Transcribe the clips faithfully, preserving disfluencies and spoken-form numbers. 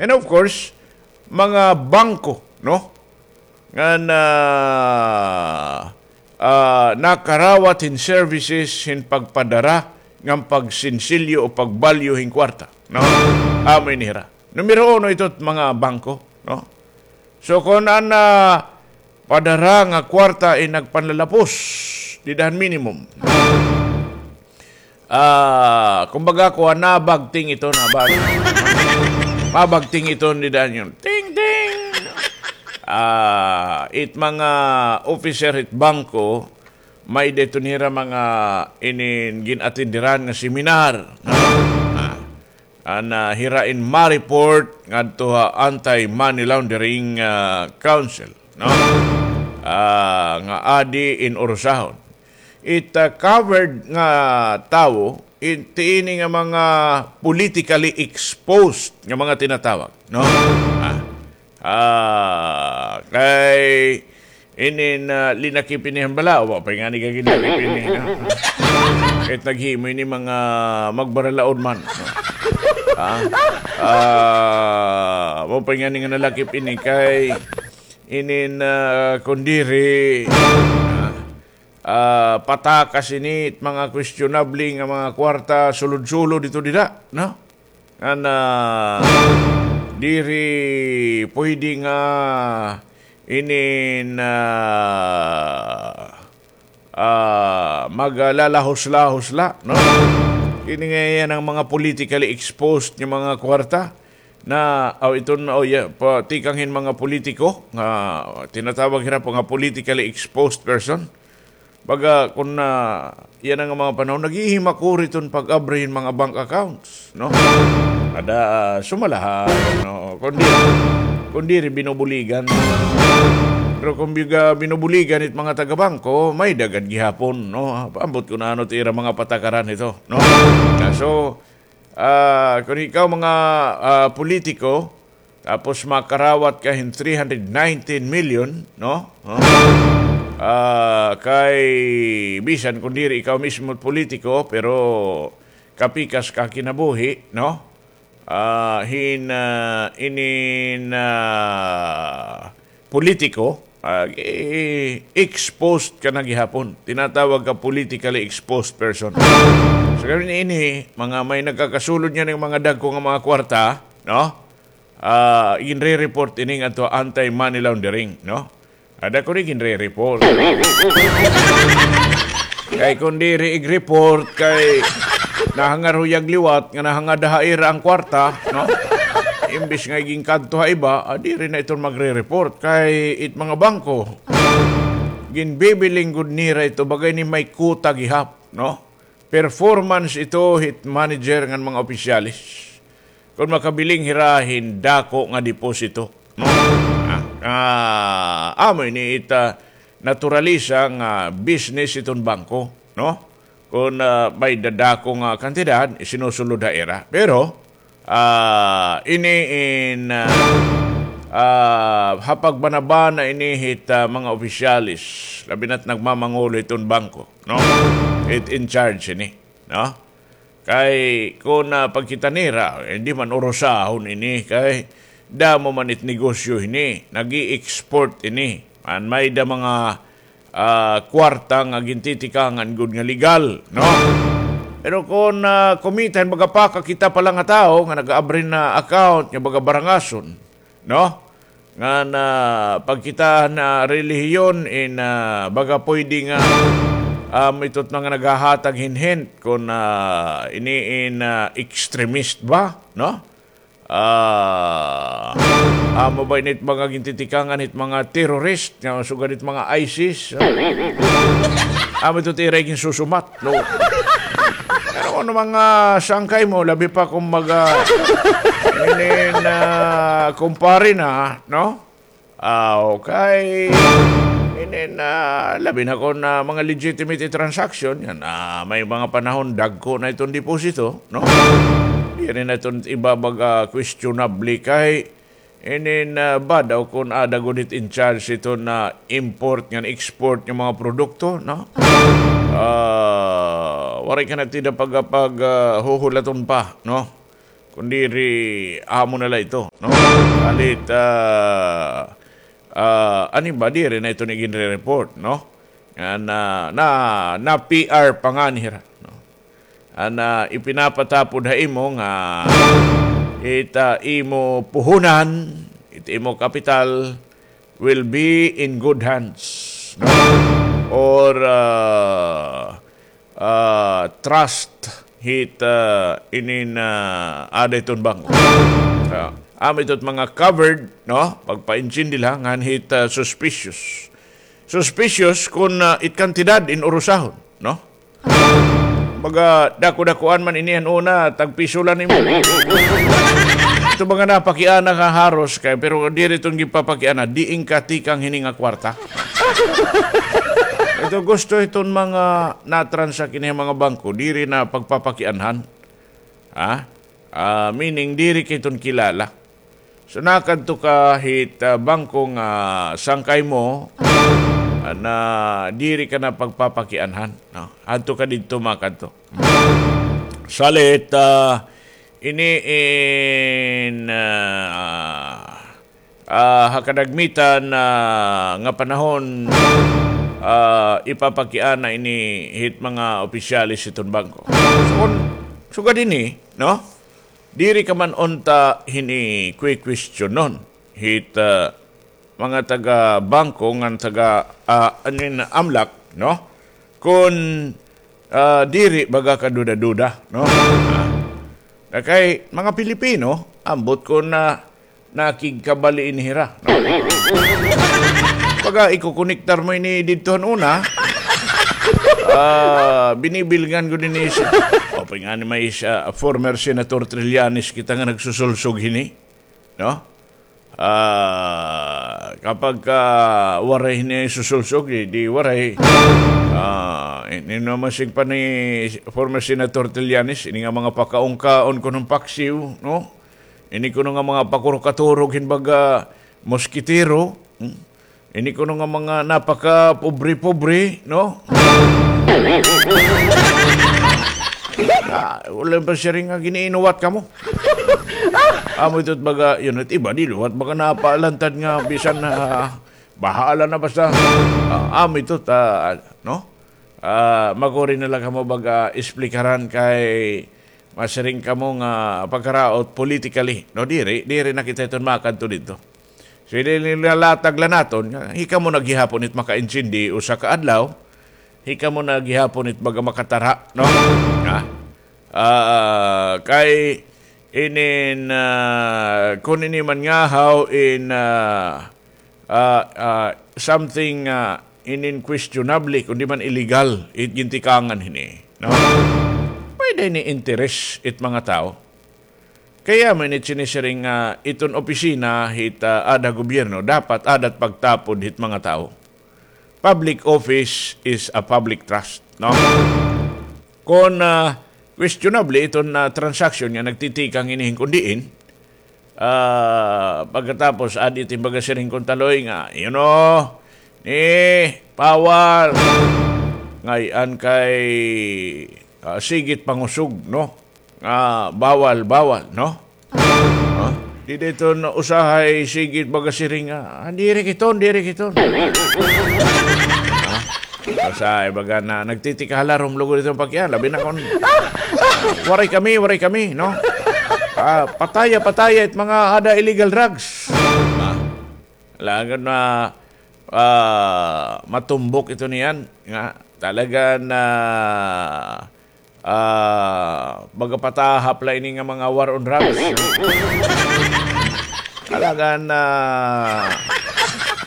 And of course, mga bangko, no? Ngan, ah, ah, nakarawat hin services hin pagpadara ngan pagsinsilyo o pagbalyo hin kwarta, no? Amo ini hira. Numero uno ito mga bangko, no? So, kon an, ah, padara nga kwarta in nagpanlalapos, dida han minimum. Ah, kumbaga, kuan, nabagting ito, nabag-, mabagting ito, dida han yun. Ting, ting! Ah, it mga officer it bangko, may-ada ito nira mga inin gin-atenderan nga seminar, no? Ah, an, ah, hira in ma-report ngadto ha Anti-Money Laundering, ah, Council, no? Ah, nga adi in urusahon. It, ah, covered nga tawo, it, ini nga mga politically exposed nga mga tinatawag, no? Ah, Ah, kay inin, ah, linakip ini han bala, wa pa ngani ka ginlakip ini, no? Kahit naghimo ini mga magbaralaod man, no? Ah, ah, wa pa ngani nga nalakip ini kay inin, ah, kon diri, ah, ah, patakas ini it mga questionable nga mga kwarta, sulod-sulod ito dida, no? Ngan, ah, diri pwede nga inin, ah, ah, maglalahos-lahos la, no? Ini nga yana an mga politically exposed nga mga kwarta na, aw, iton, aw, ya, pa, tikang hin mga politiko nga tinatawag hira pa nga politically exposed person. Baga, kon, ah, yana nga mga panahon, naghihimakuri iton pag-abri hin mga bank accounts, no? Ada, ah, sumalahan, no? Kon diri, kon diri binubuligan. Pero kon biga binubuligan it mga taga-bangko, may-ada gad gihapon, no? Ambot kon ano it ira mga patakaran ito, no? Ah, so, ah, kon ikaw mga, ah, politiko, tapos makarawat ka hin three hundred nineteen million, no? No? Ah, kay bisan kon diri ikaw mismo politiko, pero kapikas ka kinabuhi, no? Ah, hin, ah, inin, ah, politiko, ah, i-, exposed ka na gihapon. Tinatawag ka politically exposed person. So, kami ini, mga may nagkakasulod niyan ng mga dagko nga mga kwarta, no? Ah, ginre-report ini ngadto anti-money laundering, no? Ada ko ni ginre-report. Kay kon diri ig-report, kay nahangar huyag liwat nga nahangad ha ira an kwarta, no? Imbis nga iginkadto ha iba, ah, diri na iton magre-report. Kay it mga bangko, ginbibiling gud nira ito, bagay ni may kuta gihap, no? Performance ito hit manager ngan mga opisyales. Kon makabiling hira hin dako nga deposito, no? Ah, ah, amo ini it, ah, naturalisa nga business iton bangko, no? Kon, ah, may dadako nga kantidad, isinusulod ha ira. Pero, ah, ini in, ah, ah, ha pagbanabana ini hit, ah, mga opisyales, labi na't nagmamangulo hiton bangko, no? It in charge ini, no? Kay kon, ah, pagkita nira, eh, hindi man urusahon ini, kay damo man it negosyo ini, nag-i-export ini. An may-ada mga, ah, kwarta nga gintitikangan gud nga legal, no? Pero kon, ah, kumita hin baga pakakita pa la nga tawo nga nag-aabri na account nga baga barangason, no? Ngan pagkita na relihiyon in, ah, baga pwede nga, um, ito it mga naghahatag hin hint kon, ah, ini in, ah, extremist ba, no? Ah, amo ba ini it mga gintitikangan hit mga terrorist nga sugad hit mga ISIS, no? Amo ito it ira ginsusumat, no? Pero kon mga sangkay mo, labi pa kon mga inin, ah, kumpare na, no? Ah, okay. Inin, ah, labi na kon mga legitimate transaction, yana may mga panahon dagko na iton deposito, no? Diri na iton iba baga questionable kay inin, ah, ba daw kon ada gud it in charge iton import ngan export nga mga produkto, no? Ah, waray ka na it ira pag, pag, ah, huhulaton pa, no? Kun diri, amo na la ito, no? Halit, ah, ah, ano ba, diri na ito ni ginre-report, no? Nga na, na, na P R pa ngani hira, no? An, ah, ipinapatapod ha imo nga it, ah, imo puhunan, it imo kapital will be in good hands, no? Or, ah, ah, trust hit, ah, inin, ah, ada hiton bangko. Ah, amo ito it mga covered, no? Pagpaintindi la, ngan hit, ah, suspicious. Suspicious kun, ah, it kantidad in urusahon, no? Baga, dako-dakuan man ini han una, tagpiso la nimo. Ito mga napakiana ka haros kay, pero diri iton ginpapakiana, diin ka tikang hini nga kwarta. Ito gusto iton mga natransak ini mga bangko, diri na pagpapakianhan. Ha? Ah, meaning, diri ka iton kilala. So, nakadto ka hit, ah, bangko nga sangkay mo, ah, na diri ka na pagpapakianhan, no? Adto ka didto, makadto. Salit, ah, ini in, ah, ah, ha kadagmitan, ah, nga panahon, ah, ipapakiana ini hit mga opisyales hiton bangko. So, kun sugad ini, no? Diri ka man unta hini kwi-questionon hit, ah, mga taga-bangko ngan taga, ah, anin, amlak, no? Kun, ah, diri baga ka duda-duda, no? Ah, kay mga Pilipino, ambot kun na nakigkabali ini hira, no? Baga ikokonektar mo ini didto han una, ah, binibilngan ko dinhi si, o, pa ngani may isa, former Senator Trillanes kita nga nagsusulsog hini, no? Ah, kapag, ah, waray hini susulsog, di, di waray. Ah, ini naman sing pa ni former Senator Trillanes, ini nga mga pakaungkaon kunong paksiw, no? Ini kuno nga mga pakurkaturog hin baga moskitero, hmm? Ini kuno nga mga napakapobre-pobre, no? Ah, wala pa siring nga giniinuwat kamo. Amo ito baga, yun, it iba, di liwat, baga napaalantad nga, bisan na, bahala na basta. Ah, amo ito, ta, no? Ah, maguri na la kamo baga esplikaran kay masiring kamo nga pagkaraot politically. No, diri, diri na kita iton makadto didto. So, ini nilalatag la naton, nga, hikamo na gihapon it makaintindi usa ka adlaw, hikamo na gihapon it baga makatara, no? Ha? Ah, kay inin, ah, kun ini man ngahaw in, ah, ah, ah, something, ah, inin questionable, kundi man illegal, it gintikangan hini, no? Pwede ini interes it mga tawo. Kay amo ini sinisiring nga iton opisina hit, ah, ada gobyerno, dapat ada it pagtapod hit mga tawo. Public office is a public trust, no? Kon, ah, questionable iton, ah, transaction nga nagtitikang ini hin kon diin, ah, pagkatapos, adi it baga siring kon taloy nga, you know, ni bawal. Ngay-an kay, ah, sige it pangusog, no? Nga bawal, bawal, no? Ha? Diri iton usahay sige it baga siring nga, ah, diri kiton, diri kiton. Ha? Usahay baga na nagtitikahalarom lugod iton pakiana, labi na kon, waray kami, waray kami, no? Ah, pataya, pataya it mga ada illegal drugs. Ha? Lagad na, ah, matumbok ito niyan nga talaga na, ah, baga patahap la ini nga mga war on drugs. Talaga na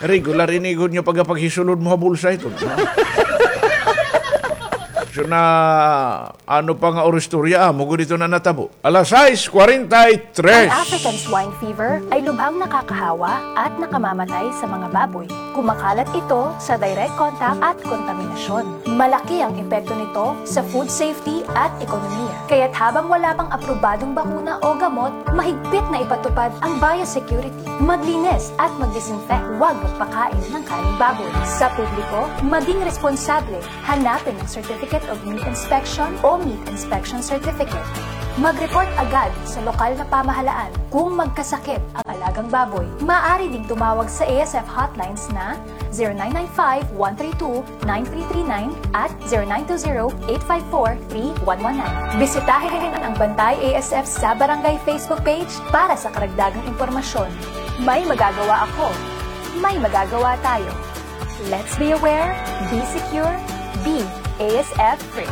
regular ini gud nga pagapaghisulod mo ha bulsa ito, no? So na, ano pa nga oristorya, amo gud ito na natabo. Alas sais kwarenta y tres. Ang African swine fever ay lubhang nakakahawa at nakamamatay sa mga baboy. Kumakalat ito sa direct contact at kontaminasyon. Malaki ang epekto nito sa food safety at ekonomiya. Kaya't habang wala pang aprobadong bakuna o gamot, mahigpit na ipatupad ang biosecurity. Maglinis at mag-disinfect. Huwag magpakain ng karneng baboy. Sa publiko, maging responsable. Hanapin ang Certificate of Meat Inspection o Meat Inspection Certificate. Mag-report agad sa lokal na pamahalaan kung magkasakit ang alagang baboy. Maaari ding tumawag sa A S F hotlines na zero nine nine five, one three two, nine three three nine at zero nine two zero, eight five four, three one one nine. Bisitahin ang Bantay A S F sa Barangay Facebook page para sa karagdagang impormasyon. May magagawa ako. May magagawa tayo. Let's be aware, be secure, be A S F free.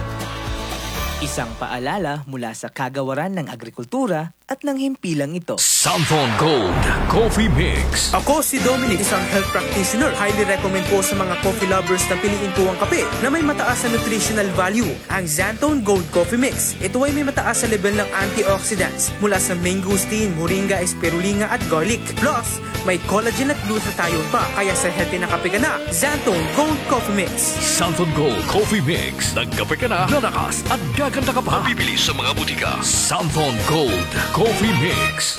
Isang paalala mula sa Kagawaran ng Agrikultura at ng himpilang ito. Santhon Gold Coffee Mix. Ako si Dominic, isang health practitioner. Highly recommend po sa mga coffee lovers na piliin po ang kape na may mataas na nutritional value, ang Xanthone Gold Coffee Mix. Ito ay may mataas na level ng antioxidants mula sa mangosteen, moringa, spirulina at garlic. Plus, may collagen at glutathione pa, kaya sa healthy na kape ka na, Xanthone Gold Coffee Mix. Santhon Gold Coffee Mix. Nagkape ka na, lalakas at gaganda ka pa. Mabibili sa mga butika. Santhon Gold Coffee Mix.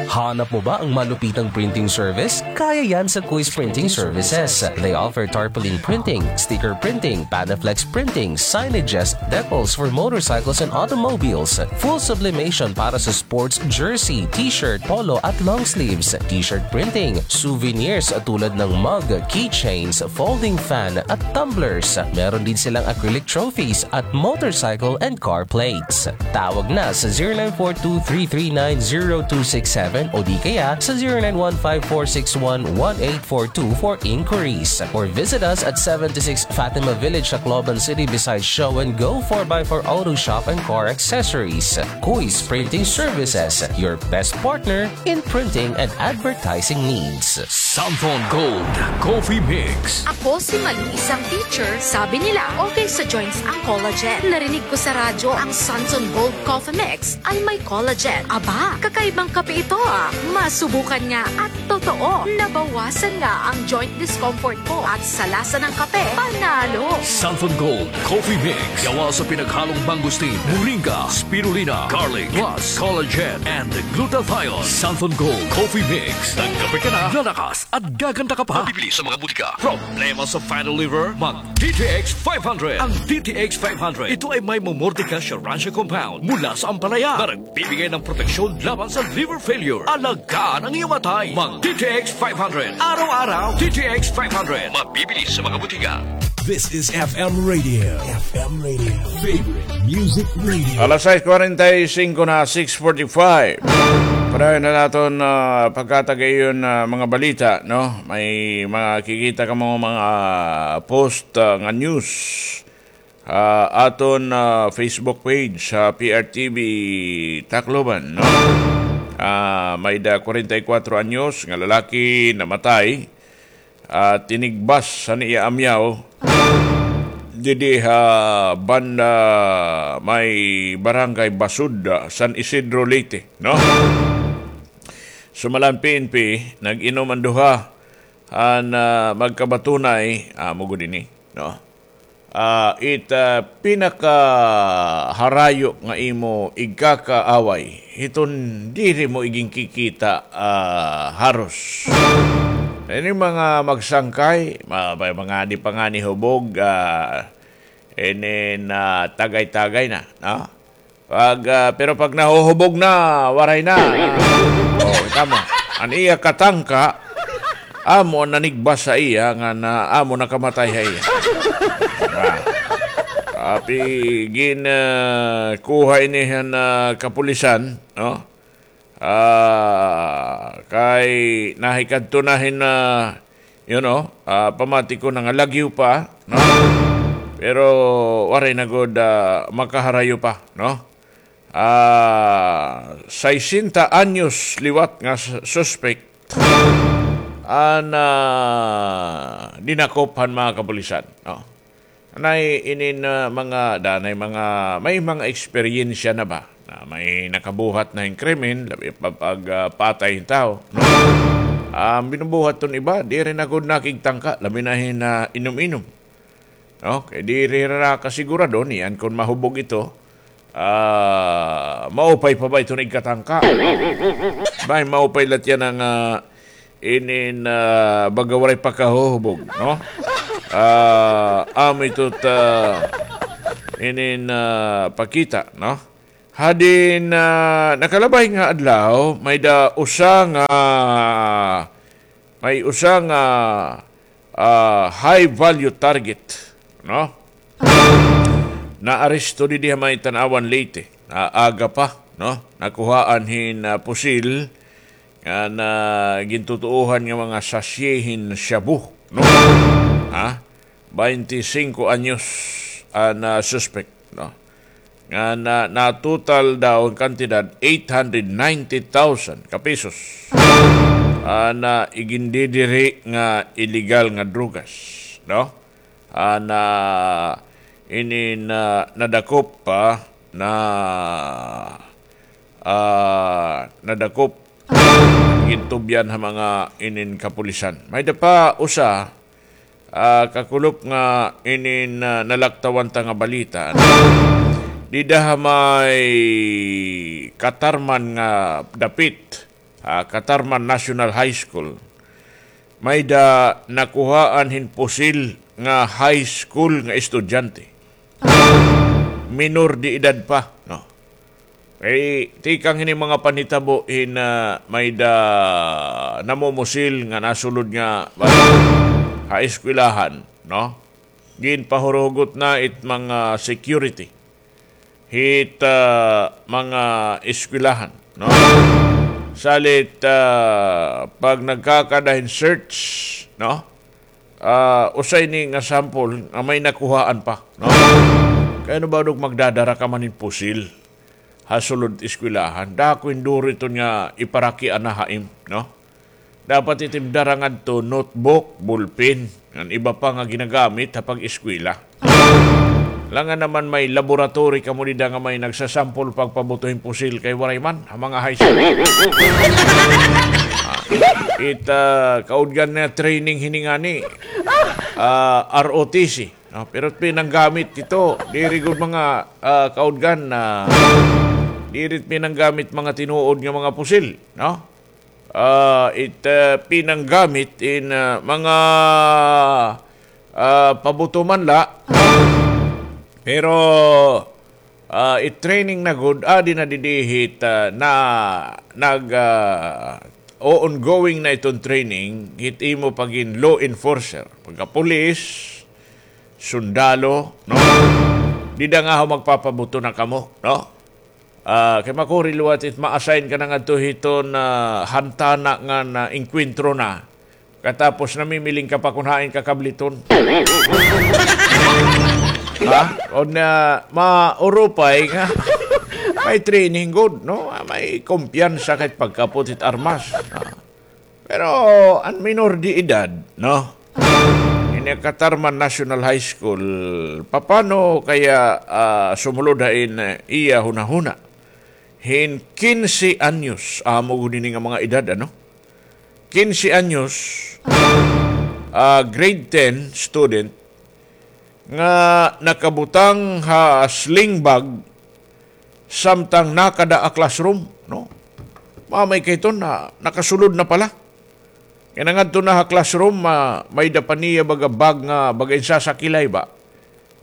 Hanap mo ba ang malupitang printing service? Kaya yan sa Kuis Printing Services. They offer tarpaulin printing, sticker printing, Panaflex printing, signages, decals for motorcycles and automobiles, full sublimation para sa sports jersey, t-shirt, polo at long sleeves, t-shirt printing, souvenirs tulad ng mug, keychains, folding fan at tumblers. Meron din silang acrylic trophies at motorcycle and car plates. Tawag na sa zero nine four two three three nine zero two six seven o di kaya sa zero nine one five four six one one eight four two for inquiries. Or visit us at seventy-six Fatima Village, Tacloban City, beside Show and Go four by four Auto Shop and Car Accessories. Kuis Printing Services, your best partner in printing and advertising needs. Santhon Gold Coffee Mix. Ako si Malu, isang teacher. Sabi nila, okay sa joints ang collagen. Narinig ko sa radyo ang Santhon Gold Coffee Mix ay may collagen. Aba, kakaibang kape ito, ah. Masubukan nga at totoo, nabawasan nga ang joint discomfort ko at sa lasa ng kape, panalo. Santhon Gold Coffee Mix. Gawa sa pinaghalong mangosteen, moringa, spirulina, garlic, plus collagen and glutathione. Santhon Gold Coffee Mix. Nagkape ka na, lalakas at gaganda ka pa. Mabibili sa mga butika. Problema sa fatty liver? Mag D T X five hundred. Ang D T X five hundred, ito ay may momordica charania compound mula sa ampalaya na nagbibigay ng proteksyon laban sa liver failure. Alagaan ang iyong atay. Mag D T X five hundred. Araw-araw, D T X five hundred. Mabibili sa mga butika. This is F M Radio. F M Radio. Favorite Music Radio. Alas sais kwarenta y singko na, six forty-five. Padayon na naton, ah, pagkatagayon, ah, mga balita, no? May makikita kamo mga post, ah, nga news. Ah, aton, ah, Facebook page sa P R T V Tacloban, no? Ah, may da kwarenta y kwatro anyos nga lalaki namatay, ah, tinigbas han iya amyaw didi ha banda may Barangay Basud, ah, San Isidro, Leyte, no? Sumala han P N P, nag-inom an duha han, ah, magkabatunay, amo gud ini, no? Ah, it, ah, pinakaharayo nga imo igkakaaway, hiton diri mo iginkikita, ah, haros. Ini mga magsangkay, ma-, may mga di pa ngani hubog, ah, inin, ah, tagay-tagay na, no? Pag, ah, pero pag nahuhubog na, waray na. Oh, kita mo. An iya katangka, amo an nanigbas ha iya, nga na, amo nakamatay ha iya. Ah. Tapi gin, ah, kuha ini han, ah, kapulisan, no? Ah, kay nahikadto na hin, ah, you know, ah, pamati ko na nga lagyo pa, no? Pero waray na gud, ah, makaharayo pa, no? Ah, sesenta anyos liwat nga s-, suspek an, ah, dinakop han mga kapulisan, no? Anay inin, ah, mga, danay mga, may mga eksperyensya na ba? Na may nakabuhat na hin krimen, labi pa pag, ah, patay hin tawo, no? An binubuhat ton iba, diri na gud nakigtangka, labi na hin, ah, inom-inom. No? Kay diri ra kasigurado niyan kon mahubog ito, ah, maupay pa ba iton igkatangka? Bay, maupay la tiyan an, ah, inin, ah, baga waray pa kahuhubog, no? Ah, amo ito ta, inin, ah, pakita, no? Hadin, ah, nakalabay nga adlaw, may-ada usa nga, may usa nga, ah, high value target, no? Naaresto didi ha may Tanauan, Leyte. Ah, aga pa, no? Nakuhaan hin, ah, pusil nga na gintutuohan nga mga sachet hin shabu, no? Ha? Baynte singko anyos an, ah, suspect, no? Nga na, natotal daw an kantidad eight hundred ninety thousand ka pesos. Ah, na igindidiri nga illegal nga drogas, no? Ah, na inin, ah, nadakop pa na, ah, nadakop, gintubyan ha mga inin kapulisan. May-ada pa usa, ah, kakulop nga inin, ah, nalaktawan ta nga balita. Dida ha may Catarman nga dapit, ah, Catarman National High School, may-ada nakuhaan hin pusil nga high school nga estudyante. Minor de edad pa, no? Kay tikang hini mga panhitabo hin, ah, may-ada namumusil nga nasulod nga ha eskwelahan, no? Ginpahurugot na it mga security hit, ah, mga eskwelahan, no? Salit, ah, pag nagkakada hin search, no? Ah, usa ini nga sample nga may nakuhaan pa, no? Kay ano ba dog magdadara ka man hin pusil ha sulod eskwelahan? Dako hin duro iton nga iparakian na ha im, no? Dapat it im dara ngadto notebook, ballpen, ngan iba pa nga ginagamit ha pag-eskwela. Langan naman may laboratory kamo dida nga may nagsasample pagpabuto hin pusil kay waray man ha mga high school. Ah, it, ah, kaudgan na training hini ngani, ah, R O T C, no? Pero pinanggamit ito, diri gud mga, ah, kaudgan na, diri pinanggamit mga tinuod nga mga pusil, no? Ah, it, ah, pinanggamit in, ah, mga, ah, pabuto man la. Pero, ah, it training na gud, adi na didi hit, ah, na, nag, ah, o ongoing na iton training, hit imo pagin law enforcer. Pagka pulis, sundalo, no? Dida nga ho magpapabuto na kamo, no? Ah, kay makuri liwat it ma-assign ka na ngadto hiton, ah, hantana ngan enkwentro na. Katapos namimiling ka pa kon hain ka kabliton. Ha? Kon, ah, maurupay nga may training gud, no? Ah, may kumpiyansa kay pagkapot hit armas. Ah. Pero an minor de edad, no? Ini Catarman National High School, papano kaya, ah, sumulod ha in, eh, iya hunahuna? Hin kinse anyos, amo gud ini nga mga edad, ano? Kinse anyos, ah, grade ten student, nga nakabutang ha sling bag samtang nakada ha classroom, no? Mamay kay iton na, nakasulod na pala. Kay nangadto na ha classroom, ma-, may-ada pa niya baga bag nga baga in sasakilay ba.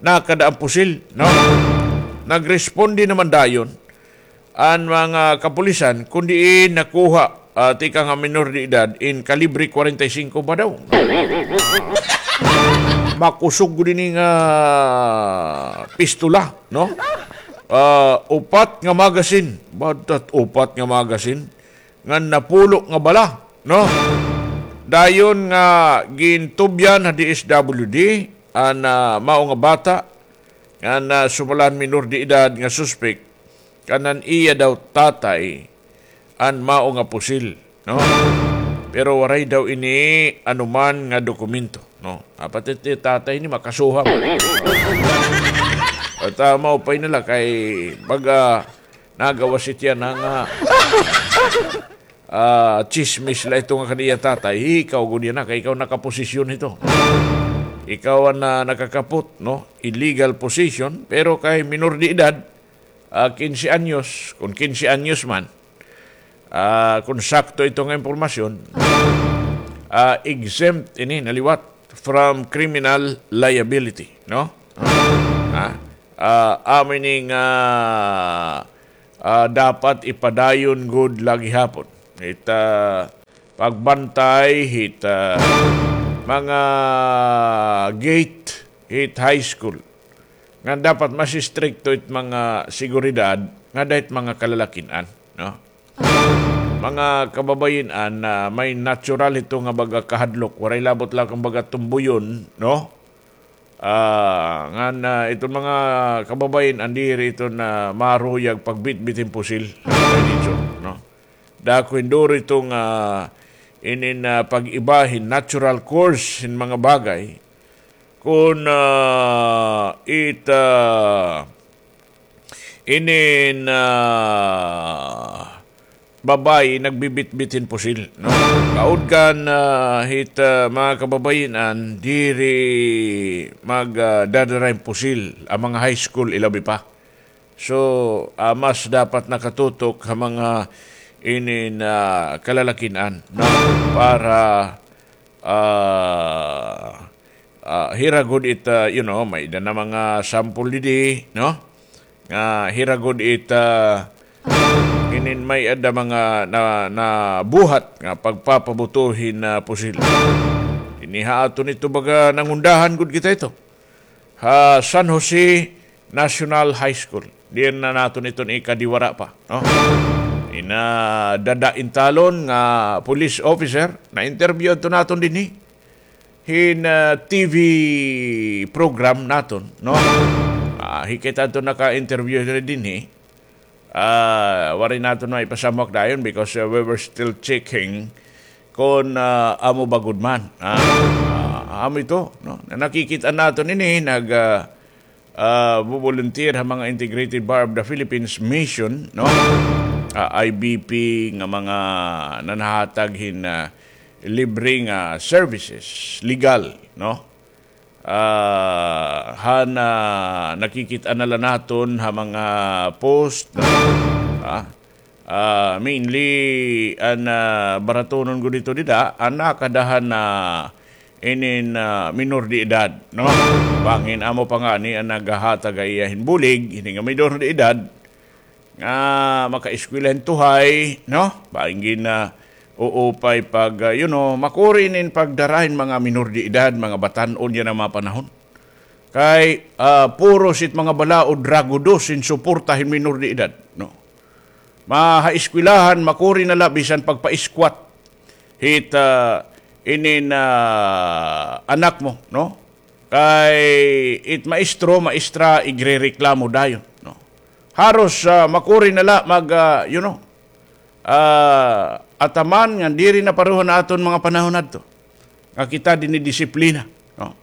Nakada an pusil, no? Nagresponde naman dayon an mga kapulisan, kun diin nakuha, ah, tikang ha minor de edad, in kalibre kwarenta y singko ba daw? Makusog gud ini nga pistola, no? Ah, upat nga magazine. Batat upat nga magazine. Ngan napulo nga bala, no? Dayon nga gintubyan ha D S W D, an, ah, mao nga bata, ngan, ah, sumala han minor de edad nga suspek, kan an iya daw tatay an mao nga pusil, no? Pero waray daw ini anuman nga dokumento, no? Dapat it tatay ini makasuhan. At, ah, maupay na la kay baga nagawas it yana nga, ah, tsismis la ito nga kan iya tatay. Ikaw gud yana kay ikaw nakaposesyon hito. Ikaw an, ah, nakakapot, no? Illegal possession, pero kay minor de edad, ah, kinse anyos, kon kinse anyos man, ah, kon sakto ito nga impormasyon, ah, exempt ini na liwat from criminal liability, no? Ah, ah, amo ini nga, ah, dapat ipadayon gud la gihapon. It, ah, pagbantay hit, ah, mga gate hit high school. Nga dapat mas istrikto it mga seguridad nga dahit mga kalalakin-an, no? Mga kababayin-an, ah, may natural ito nga baga kahadlok. Waray labot la kon baga tumbuyon, no? Ah, ngan, ah, iton mga kababayin-an diri ito na maruyag pagbitbit hin pusil. Kay dito, no? Dako hin duro ito nga inin, ah, pag-iba hin natural course hin mga bagay. Kon, ah, it, ah, inin, ah, babayi nagbibitbit hin pusil, no? Kaudgan, ah, hit, ah, mga kababayin-an, diri mag, ah, dadara hin pusil an mga high school, ilabi pa. So, ah, mas dapat nakatutok ha mga inin, ah, kalalakin-an, no? Para, ah, ah, hira gud it, ah, you know, may-ada na mga sample didi, no? Nga hira gud it, ah, inin may-ada mga na, nabuhat nga pagpapabuto hin, ah, pusil. Dinhi ha aton ito baga nangundahan gud kita ito. Ha San Jose National High School. Diin na naton iton ikadiwara pa, no? Ina Dada Intalon nga police officer, na-interview adto naton dinhi hin, ah, T V program naton, no? Ah, hikit adto naka-interview diri dinhi. Ah, waray naton maipasamwak dayon because, ah, we were still checking kon, ah, amo ba gud man. Ah, ah, amo ito, no? Na nakikita naton ini, nag, ah, ah, volunteer ha mga Integrated Bar of the Philippines Mission, no? Ah, I B P nga mga nanhahatag hin, ah, libre nga services, legal, no? Ah, han, ah, nakikit-an na la naton ha mga post, no? Ah, ah, mainly, an, ah, baratonon gud ito dida, an nakadahan na inin, ah, minor de edad, no? Bangin amo pa ngani an naghahatag ha iya hin bulig, hini nga minor de edad, nga makaeskwela hin tuhay, no? Bangin na uupay pag, ah, you know, makuri inin pagdara hin mga minor de edad, mga batan-on yana nga mga panahon. Kay, ah, puros it mga balaod, ragudos hin suporta hin minor de edad, no? Ma-, ha eskwelahan, makuri na la bisan pagpa-squat hit, ah, inin, ah, anak mo, no? Kay it maestro, maestra, igrereklamo dayon, no? Haros, ah, makuri na la mag, ah, you know, ah, ataman nga diri na pareho han aton mga panahon adto nga kita dinidisiplina, no?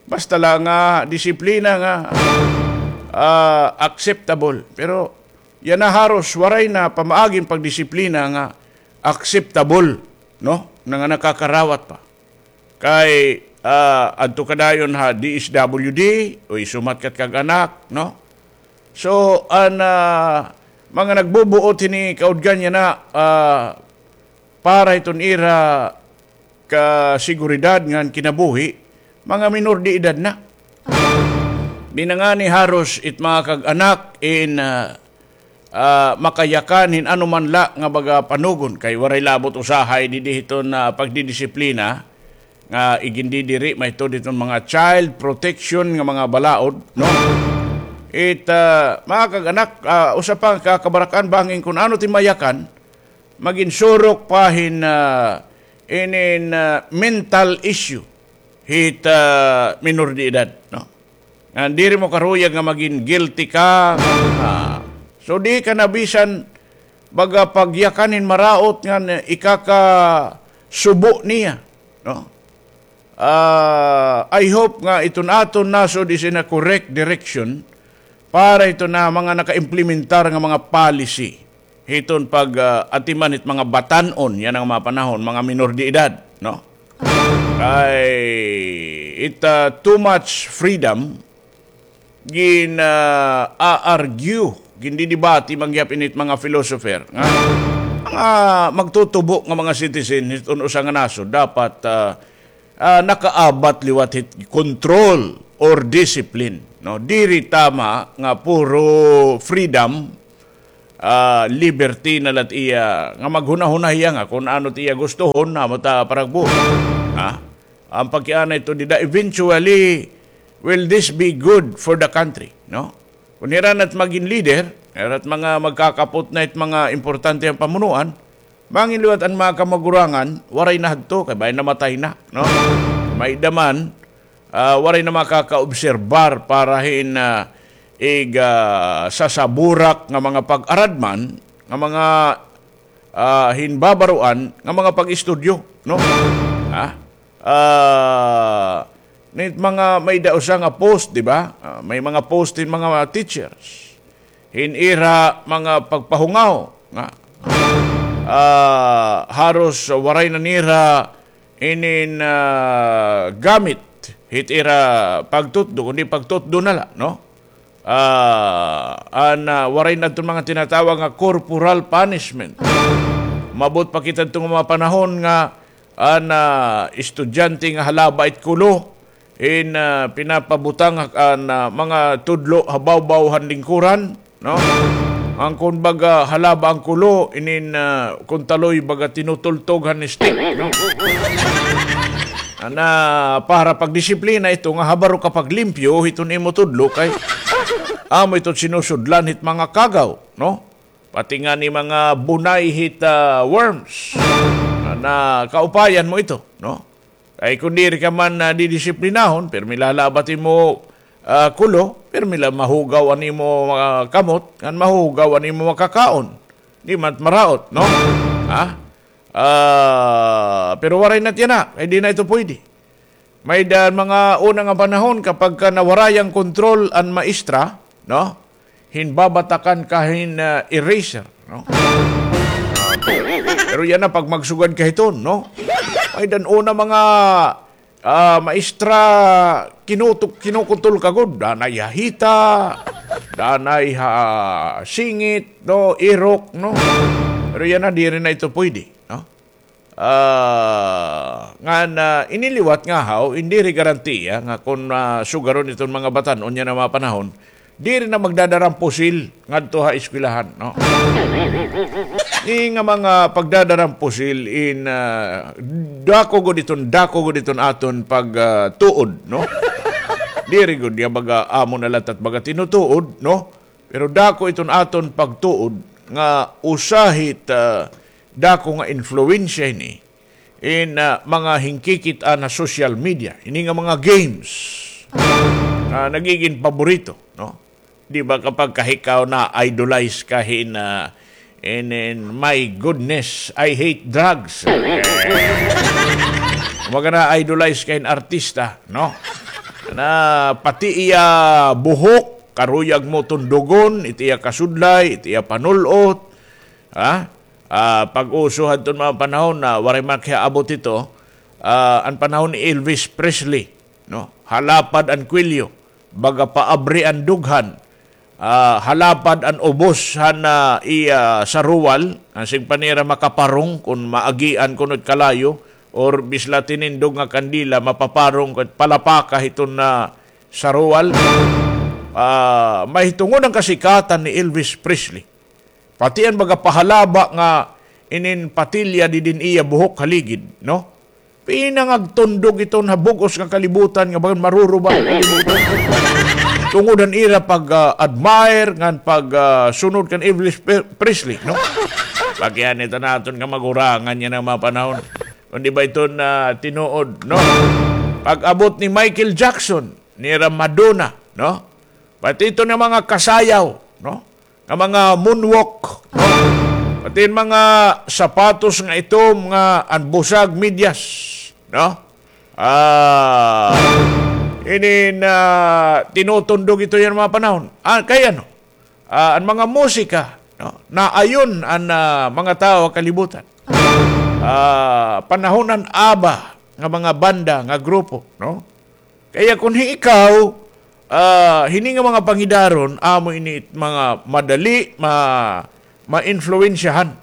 Basta la nga disiplina nga, ah, acceptable. Pero yana haros waray na pamaagi hin pagdisiplina nga acceptable, no? Na nga nakakarawat pa. Kay, ah, adto ka dayon ha D S W D, o isumat kat kag anak, no? So, an, ah, mga nagbubuot hini kaudgan yana, ah, para hiton ira kasiguridad ngan kinabuhi, mga minor de edad na. Di na ngani haros it mga kag-anak in, ah, ah, makayakan hin ano man la nga baga panugon, kay waray labot usahay didi hiton, ah, pagdidisiplina nga igindidiri mahitod hiton mga child protection nga mga balaod, no? It, ah, mga kag-anak, ah, usa pa nga kabarakan bangin kun ano it im mayakan, magin surok pa hin, ah, inin, ah, mental issue hit, ah, minor de edad, no? Ngan diri mo karuyag nga magin guilty ka, ah, so di ka na bisan baga pagyakan hin maraot ngan ikakasubo niya, no? Ah, I hope nga iton aton nasod is in a correct direction para hiton mga naka-implementar nga mga policy hiton pag, ah, atiman hit mga batan-on yana nga mga panahon, mga minor de edad, no? Kay it, ah, too much freedom, gin, ah, a-argue, gindidebate man gihap ini hit mga philosopher nga mga magtutubo nga mga citizen hiton usa nga nasod dapat, ah, ah, nakaabat liwat hit control or discipline, no? Diri tama nga puro freedom, ah, liberty na la it iya, nga maghunahuna hiya nga kun ano it iya gustohon, amo ta paragbo. Ha? An pagkiana ito dida, eventually, will this be good for the country, no? Kun hira na it magin leader, hira it mga magkakapot na it mga importante nga pamunuan, mangin liwat an mga kamagurangan, waray na hadto, kay bangin namatay na, no? May-ada man, ah, waray na makakaobserbar para hin, ah, ig, ah, sasaburak nga mga pag-aradman, nga mga, ah, hinbabaroan, nga mga pag-istudyo, no? Ha? Ah, nit mga may-ada usa nga post, di ba? Ah, may mga post hin mga teachers. Hin ira mga pagpahungaw nga, ah, haros waray na nira inin, ah, gamit hit ira pagtutdo, kundi pagtutdo na la, no? Ah, an, ah, waray na iton mga tinatawag nga corporal punishment. Umabot pa kita iton mga panahon nga an, ah, estudyante nga halaba it kulo, in, ah, pinapabutang an, ah, mga tudlo ha bawbaw han lingkuran, no? An kun baga halaba an kulo, inin, ah, kun taloy baga tinutultog han stick, no? Ana, para pagdisiplina ito nga habaro ka paglimpyo hiton imo tudlo kay amo ito sinusudlan hit mga kagaw, no? Pati ngani mga bunay hit, ah, worms. Na, na kaupayan mo ito, no? Kay kun diri ka man, ah, didisiplinahon, pirmi la halaba it imo, ah, kulo, pirmi la mahugaw an imo, ah, kamot, ngan mahugaw an imo makakaon. Di man maraot, no? Ha? Ah, pero waray na tiyan na, kay di na ito pwede. May-ada mga una nga panahon kapag ka nawaray an kontrol an maestra, no? Hinbabatakan ka hin, ah, eraser, no? Pero yana pag magsugad ka hiton, no? May-ada an una mga, ah, maestra kinutok, kinukutol ka gud, danay ha hita, danay ha singit, no, irok, no? Pero yana diri na ito pwede, no? Ah, ngan, ah, ini liwat ngahaw, in diri garantiya nga kun, ah, sugaron iton mga batan-on yana nga mga panahon, diri na magdadara hin pusil ngadto ha eskwelahan, no? Ini nga mga pagdadara hin pusil in, ah, dako gud iton, dako gud iton aton pag, ah, tuod, no? Diri gud nga baga amo na la it baga tinutuod, no? Pero dako iton aton pagtuod nga usa hit, ah, dako nga influensya ini in, ah, mga hinkikit-an ha social media. Ini nga mga games, ah, nagigin paborito, no? Di ba kapag ka ikaw na-idolize ka hin, ah, in, in, "My goodness, I hate drugs." Kumbaga na-idolize ka hin artista, no? Na pati iya buhok, karuyag mo tundugon, it iya kasudlay, it iya panul-ot, ha? Ah, pag-uso hadton mga panahon na waray man kiyaabot ito, ah, an panahon ni Elvis Presley, no? Halapad an kwelyo, baga paabri an dughan, ah, halapad an ubos han, ah, iya saruwal, ngan sin pa nira makaparong kun maagian kuno it kalayo, or bisla tinindog nga kandila, mapaparong kun palapaka hiton, ah, saruwal. Ah, mahitungod an kasikatan ni Elvis Presley. Pati an baga pahalaba nga inin patilya didin iya buhok ha ligid, no? Pinangagtundog iton ha bug-os nga kalibutan nga bagan maruruba an kalibutan. Tungod han ira pag, ah, admire ngan pag, ah, sunod kan Elvis Pre-, Presley, no? Pakiana ito naton kamagurangan yana nga mga panahon. Kun di ba iton, ah, tinuod, no? Pag-abot ni Michael Jackson, nira Madonna, no? Pati ito nga mga kasayaw, no? Nga mga moonwalk, no? Pati mga sapatos nga itom nga an busag medyas, no? Ah, inin, ah, tinutundog ito yana nga mga panahon. Ah, kay ano? Ah, an mga musika, no? Naayon an, ah, mga tawo ha kalibutan. Ah, panahon an ABBA nga mga banda, nga grupo, no? Kaya kun hi ikaw, ah, hini nga mga pangidaron, amo ini it mga madali ma-, maimpluwensyahan.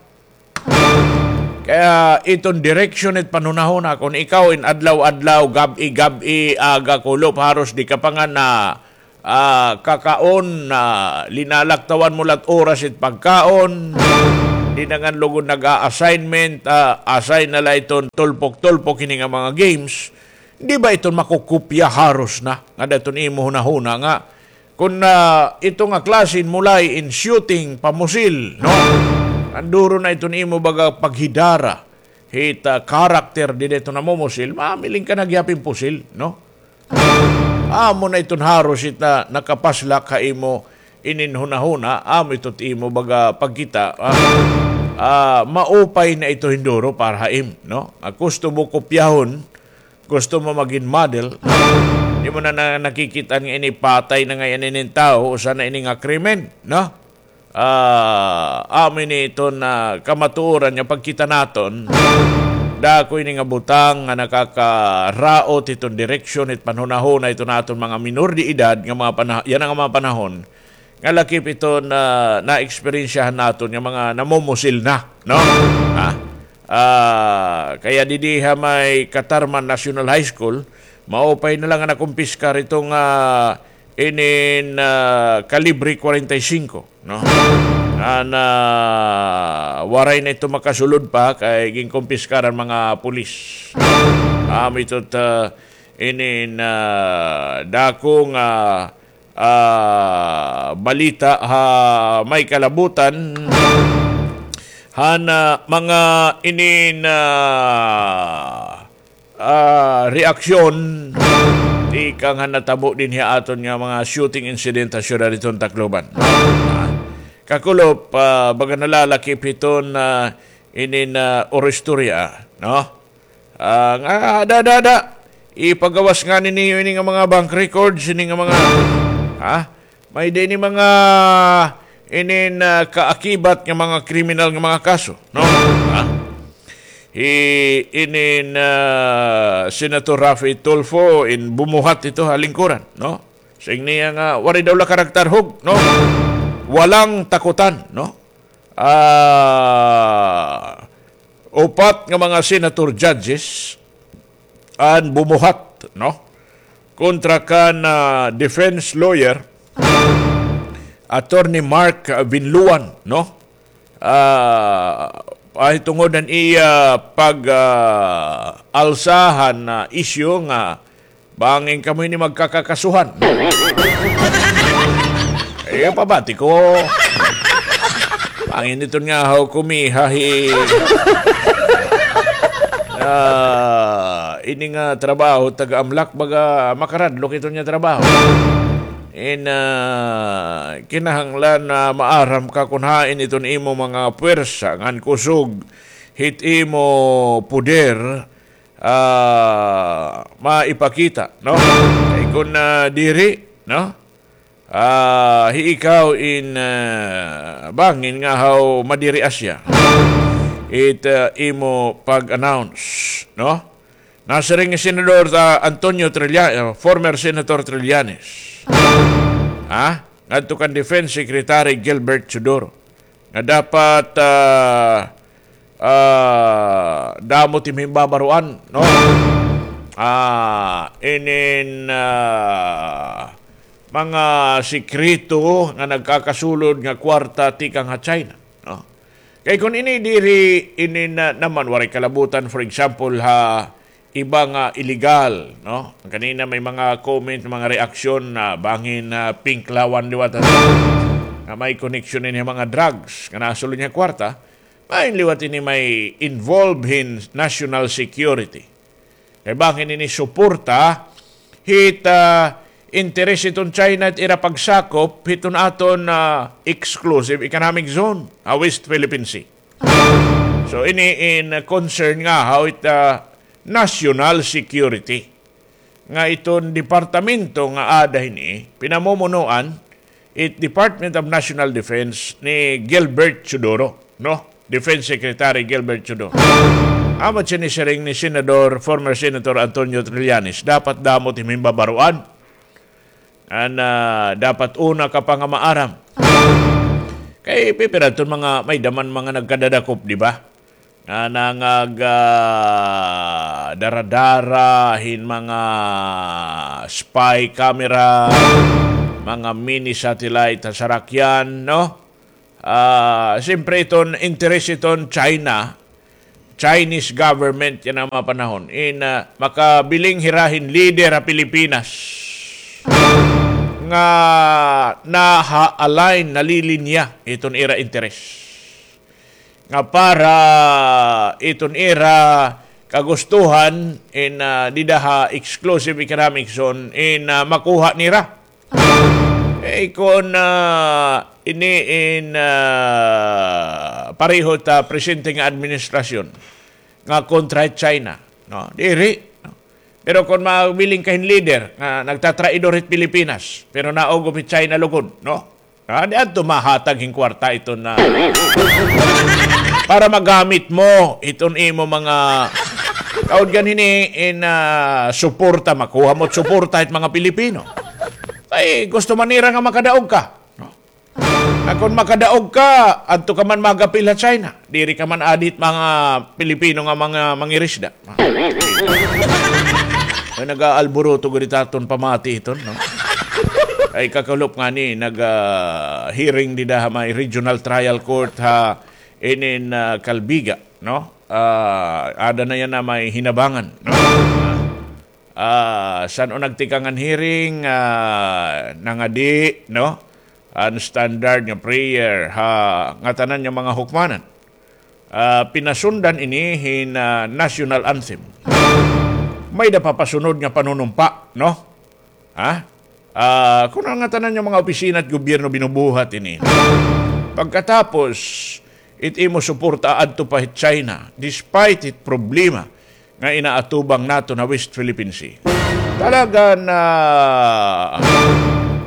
Kaya iton direksyon it panhunahuna, kun ikaw in adlaw-adlaw, gab-i, gab-i, aga, kulop, haros di ka pa nga na, ah, kakaon, ah, linalaktawan mo la it oras it pagkaon, di na ngan lugod nag-a-assignment, ah, assign na la iton tulpok-tulpok ini nga mga games, di ba iton makukopya haros na? Nga daton imo hunahuna nga, kun, ah, ito nga klase in mulay in shooting pa musil, no? An duro na iton imo baga paghidara hit, ah, karakter dida iton namumusil, mamiling ka na gihap hin pusil, no? Amo na iton haros it, ah, nakapaslak ha imo inin hunahuna, amo ito it imo baga pagkita, ah, ah, maupay na ito hin duro para ha im, no? Ah, gusto mo kopyahon, gusto mo magin model, di mo na, na nakikita nga ini patay na ngay-an inin tawo, usa na ini nga krimen, no? Ah, amo ini iton, ah, kamatuoran nga pagkita naton, dako ini nga butang nga nakakaraot hiton direksyon hit panhunahuna hiton aton mga minor de edad nga mga pana-, yana nga mga panahon, nga lakip iton, ah, naeksperyensyahan naton nga mga namumusil na, no? Ha? Ah, kaya didi ha may Catarman National High School, maupay na la nga nakumpiskar iton, ah, inin, ah, kalibre kwarenta y singko, no? An, ah, waray na ito makasulod pa kay ginkumpiskar an mga pulis. Amo ito it, ah, inin, ah, dako nga, ah, balita ha may kalabutan han, ah, mga inin, ah, ah, reaksyon tikang han natabo dinhi ha aton nga mga shooting incident ha syudad hiton Tacloban. Ah, kakulop, ah, baga nalalakip hiton, ah, inin, ah, oro istorya, no? Ah, nga, ada, ada, ada. Ipagawas ngani niyo ini nga mga bank records, ini nga mga, ha? May-ada ini mga, inin, ah, kaakibat nga mga kriminal nga mga kaso, no? Ha? Hi, inin, ah, Senator Raffy Tulfo, in bumuhat ito ha lingkuran, no? Siring niya nga, waray daw la karagtarhog, no? Walang takutan, no? Ah, upat nga mga senator judges an bumuhat, no? Kontra kan, ah, defense lawyer, Attorney Mark Vinluan, no? Ah, pahitungod han iya pag, ah, alsa han, ah, isyu nga bangin kamo ini magkakakasuhan. Eh, pabati ko. Bangin iton nga haw kumiha hi, ah, ini nga trabaho taga-amlak, baga makaradlok iton nga trabaho. In, ah, kinahanglan na maaram ka kun hain iton imo mga puwersa ngan kusog hit imo poder, ah, maipakita, no? Kay kun, ah, diri, no? Ah, hi ikaw in, ah, bangin nga haw madiri asya it, ah, imo pag-announce, no? Nasiring ni Senador, ah, Antonio Trilla-, ah, former Senator Trillanes. Ha? Ngadto kan Defense Secretary Gilbert Teodoro nga dapat, ah, ah, damo it im himbabaroan, no? Ah, inin, ah, mga sikreto nga nagkakasulod nga kwarta tikang ha China, no? Kay kun ini diri, inin, ah, naman waray kalabutan, for example, ha iba nga illegal, no? Kanina may mga comment, mga reaksyon na bangin na pink lawan liwat nga may connection ini mga drugs nga nasulod nga kwarta, may liwat ini may involve hin national security. Kay bangin ini suporta hit, ah, interes hiton China it ira pagsakop hiton aton, ah, exclusive economic zone, ah, West Philippine Sea. So, ini in concern nga haw it, ah, national security. Nga iton departamento nga aada hini, pinamumunuan it Department of National Defense ni Gilbert Teodoro, no? Defense Secretary Gilbert Teodoro. Amo it sinisiring ni Senador, former Senator Antonio Trillanes, dapat damo it im himbabaroan. An, ah, dapat una ka pa nga maaram. Kay pipira iton mga may-ada man mga nagkadadakop, di ba? Nga nangag, ah, daradara hin mga spy camera, mga mini satellite ha sarakyan, no? Ah, siyempre iton interes iton China, Chinese government yana nga mga panahon. In, ah, makabiling hira hin leader ha Pilipinas nga naha-align, nalilinya iton ira interes. Nga para iton ira kagustuhan in, ah, dida ha exclusive economic zone in, ah, makuha nira. Eh, kon, ah, ini in, ah, pareho ta presente nga administrasyon nga kontra China, no? Diri, no? Pero kon mabiling ka hin leader nga nagtatraidor hit Pilipinas, pero naugom hi China lugod, no? Ah, di adto mahatag hin kwarta iton na para magamit mo iton imo mga kaon ganhini in, ah, suporta, makuha mo suporta it mga Pilipino. Ay, gusto man nira nga makadaog ka. No? Na kon makadaog ka, adto ka man magapil ha China. Diri ka man adi hit mga Pilipino nga mga mangirisda. Ay, nag-aalburuto gud it aton pamati iton, no? Ay, kakulop ngani, nag, ah, hearing dida ha may regional trial court ha inin, ah, Calbiga, no? Ah, ada na yana may hinabangan, no? Ah, san-o nagtikang an hearing, ah, nangadi, no? An standard nga prayer ha ngatanan nga mga hukmanan. Ah, pinasundan ini hin, ah, national anthem. May-ada pa pasunod nga panunumpa, no? Ha? Ah, kun an ngatanan nga mga opisina it gobyerno binubuhat ini. Pagkatapos, it imo suporta adto pa hit China, despite it problema nga inaatubang naton ha West Philippine Sea. Talaga na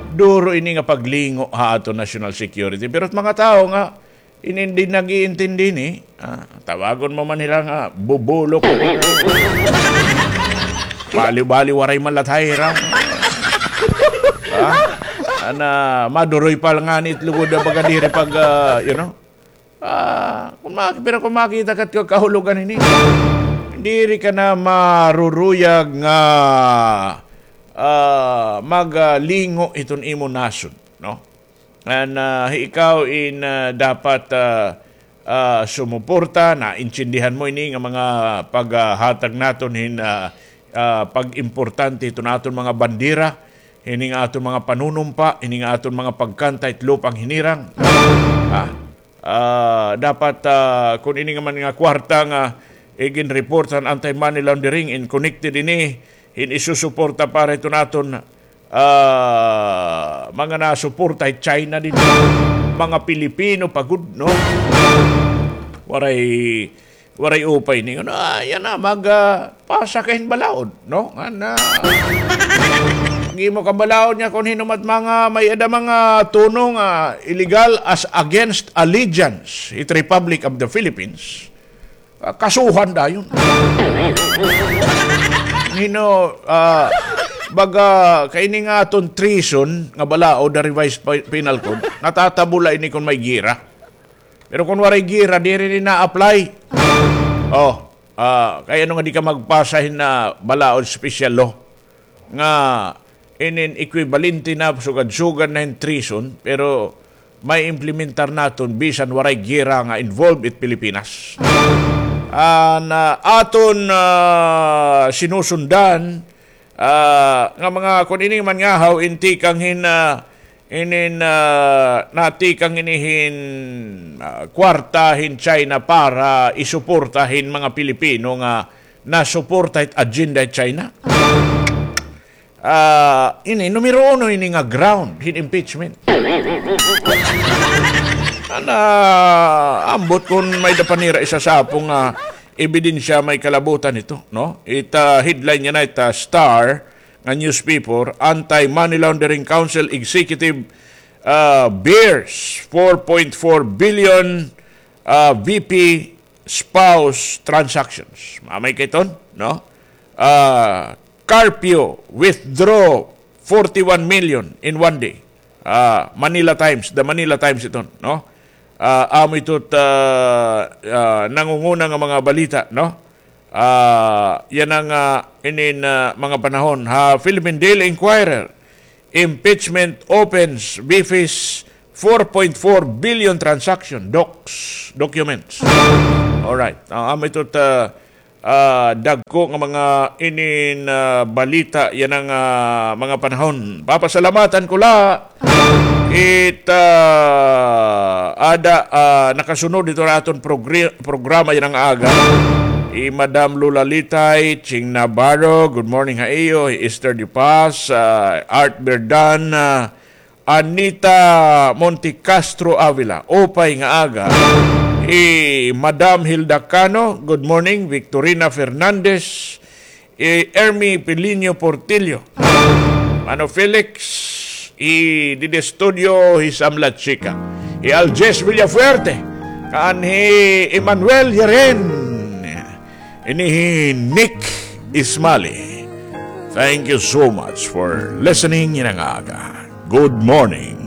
duro ini nga paglingo ha aton national security. Pero it mga tawo nga inin di nag-iintindi ini, ah, tawagon mo man hira nga bubulok. Baliw-baliw, waray man la it hira. Ah, ana, maduroy pa la ngani it lugod, baga diri pag, ah, you know, Ah, kun maki-, pero kun makita ka it kahulogan hini, diri ka na maruruyag nga, ah, maglingo iton imo nasod, no? Ngan, ah, ikaw in, ah, dapat, ah, ah, sumuporta, naintindihan mo ini nga mga paghatag naton hin, ah, ah, pag-importante iton aton mga bandera, hini nga aton mga panunumpa, hini nga aton mga pagkanta it lupang hinirang. Ah, Ah, dapat, ah, kun ini nga man nga kwarta nga iginreport han anti-money laundering in connected ini, hin isusuporta para iton aton, ah, mga nasuporta hi China dida. Mga Pilipino pa gud, no? Waray, waray upay ni, ano, ah, yana, mag, ah, pasa ka hin balaod, no? Ngan, ah, mag-imo ka balaod nga kun hin-o man it mga may-ada mga tuno nga illegal as against allegiance hit Republic of the Philippines, ah, kasuhan dayon. Hin-o, ah, baga, kay ini nga aton treason nga balaod ha Revised Pi-, Penal Code, natatabo la ini kun may gera. Pero kun waray gera, diri ini na-apply. Oh, ah, kay ano nga di ka magpasa hin, ah, balaod special law nga inin equivalente na, sugad-sugad na hin treason, pero may implementar naton bisan waray gera nga involved it Pilipinas. Ah, na aton, ah, sinusundan, ah, nga mga kun ini man ngahaw in tikang hin, ah, Inin, ah, natikang ini hin, ah, kwarta hin China para isuporta hin mga Pilipino nga nasuporta hit agenda hit China. Ah, ini, numero uno ini nga ground hin impeachment. Ana, ambot kun may-ada pa nira isasapo nga ebidensya may kalabutan ito, no? It, ah, headline niya na it, ah, Star, nga newspaper, Anti-Money Laundering Council Executive, ah, bears four point four billion, ah, V P spouse transactions. Mamay kay ton, no? Ah, Carpio withdraw forty-one million in one day. Ah, Manila Times, The Manila Times iton, no? Ah, amo ito, ah, ah, nangunguna nga mga balita, no? Ah, yana nga, ah, inin, ah, mga panahon. Ha Philippine Daily Inquirer, impeachment opens, Bifis four point four billion transaction, docs, documents. Alright. Ah, amo ito ta, ah, dagko nga mga inin, ah, balita yana nga, ah, mga panahon. Papasalamatan ko la it, ah, ada, ah, nakasunod ito na aton progr-, programa yana nga aga. I Madam Lola Litay, Ching Navarro, good morning ha iyo. Esther De Paz, ah, Art Berdan, ah, Anita Montecastro Avila, upay nga aga. I Madam Hilda Cano, good morning. Victorina Fernandez, i Ermi Pilinio Portillo, Mano Felix, i didi studio, hi Sam La Chica, i Aljes Villafuerte, kan hi Emmanuel Yaren, ini hi Nick Ismali. Thank you so much for listening yana nga aga. Good morning.